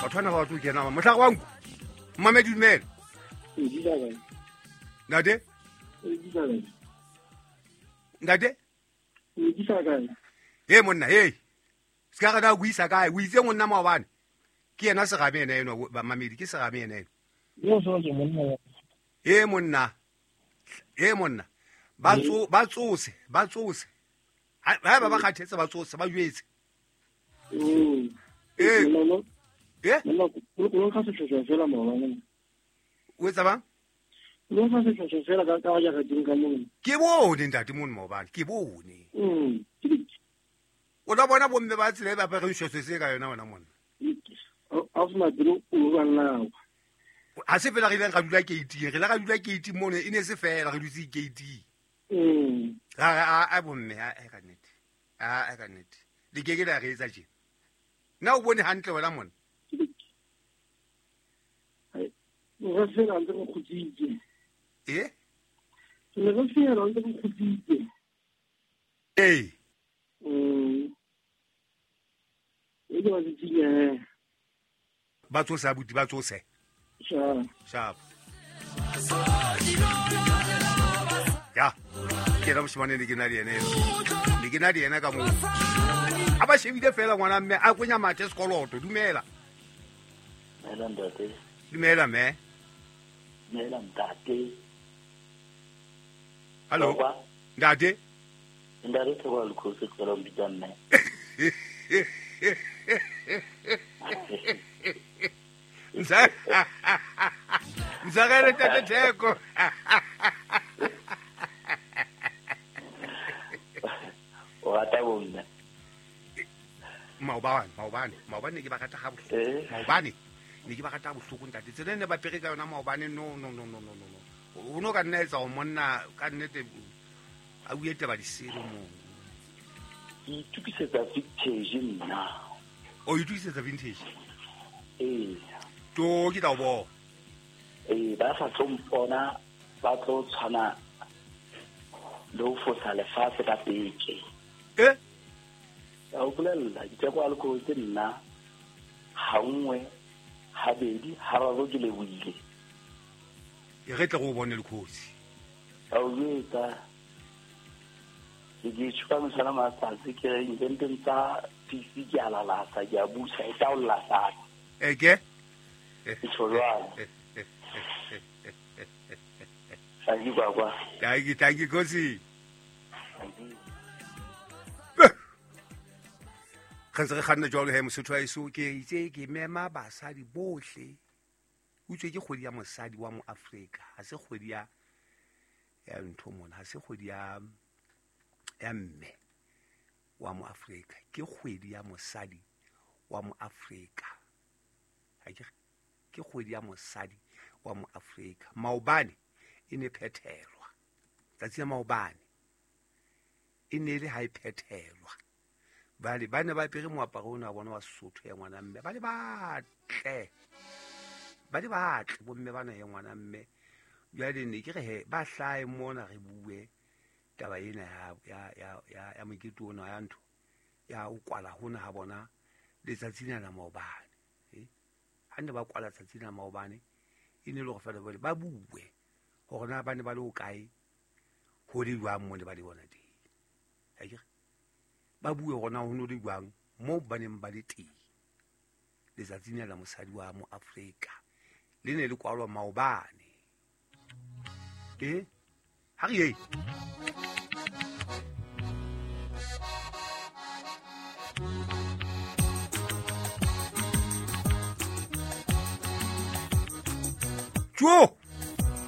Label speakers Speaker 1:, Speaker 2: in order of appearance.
Speaker 1: Batho bana ba batlo kena motlhare wa nku. Mmamedi dumela. Ntate? Ntate? He monna, he. Se ka re na o isa kae? O itse monna maobane. Ke yena serame ena eno, bamamedi, ke serame ena eno. He monna. He monna. Ba tsose, ba tsose. Ha ba ba kgathetse ba tsose, ba jwetse. Eh. Eh? O etsa bang? Ke bone ntate mono maobane, ke bone. O tla bona bomme ba tsela e ba apereng shweshwe se ka yona wena monna. Ha se fela re ileng ra dula keiting, re ile ra dula keiting mono, e ne se fela re dutse keiting. Ra a bomme a ka nnete. A ka nnete. Le ke ke la re etsa tje. Na o bone hantle wena monna?
Speaker 2: Re fela ntse re kgutsitse.
Speaker 1: Eh?
Speaker 2: Re fela ntse re kgutsitse.
Speaker 1: Eh.
Speaker 2: E ke ba tsitsile.
Speaker 1: Ba tsose abuti, ba tsose.
Speaker 2: Sharp.
Speaker 1: Sharp. Ya. Ke ra moshimane le ke na le yena. Le ke na le yena ka moo. A ba shebile fela ngwana mme a kwenya mathe sekoloto, dumela.
Speaker 3: Dumela ntate.
Speaker 1: Dumela mme.
Speaker 3: Dumela ntate.
Speaker 1: Hallo. Ntate.
Speaker 3: Ntate Theko Lekgosi ke la mpitsa mme.
Speaker 1: Ntsagele tate Theko.
Speaker 3: O rata bomme.
Speaker 1: Maobane ke ba rata ha bohloko. Maobane ne ke ba rata bohloko ntate. Tsela ne ba pere ka yona maobane no. O no ka nna etsa o monna ka nnete a bue taba disele mo.
Speaker 3: Ke itukisetsa vintage nna.
Speaker 1: O itukisetsa vintage?
Speaker 3: Eh.
Speaker 1: To ke tla o bona.
Speaker 3: Eh, ba sa tlo mpona ba tlo tshwana le ho fosa lefatshe ka peke.
Speaker 1: Eh?
Speaker 3: Ka o bolella Ditheko a Lekgosi nna ha nngwe habedi hararo ke lebohile.
Speaker 1: E re tle go bone Lekgosi.
Speaker 3: Ka o jwetsa ke tjho ka mosana matsatsi ke re intenteng tsa PC ke a lalasa ke a busa e taolla sa.
Speaker 1: Eke?
Speaker 3: Ke tjho jwalo. Thank you baba.
Speaker 1: Thank you Kgosi. Re ntse re kganna jwalo he Mosotho wa heso, ke itse ke mema basadi bohle. Utswe ke kgwedi ya mosadi wa moAfrika, ha se kgwedi ya ntho mona, ha se kgwedi ya mme wa moAfrika, ke kgwedi ya mosadi wa moAfrika. Ha ke kgwedi ya mosadi wa moAfrika. Maobane e ne phethelwa. Tsatsi la maobane e ne le ha e phethelwa. Bale ba ne ba apere moaparo ona wa bona wa Sesotho ya ngwana mme, ba le batle. Ba le batle bomme bana ya ngwana mme. Jwale ne ke re he ba hlae mona re bue taba ena ya mokete ona ya ntho ya o kwala hona ha bona letsatsi lena la maobane. Ha ne ba kwala tsatsi la maobane e ne le hore fela bole ba bue hore na ba ne ba le ho kae ho le jwang mo ne ba le bona teng. Ha ke re ba bue hore na ho no le jwang mo ba neng ba le teng letsatsi lena la mosadi wa moAfrika le ne le kwalwa maobane. Ha re ye. Tjo!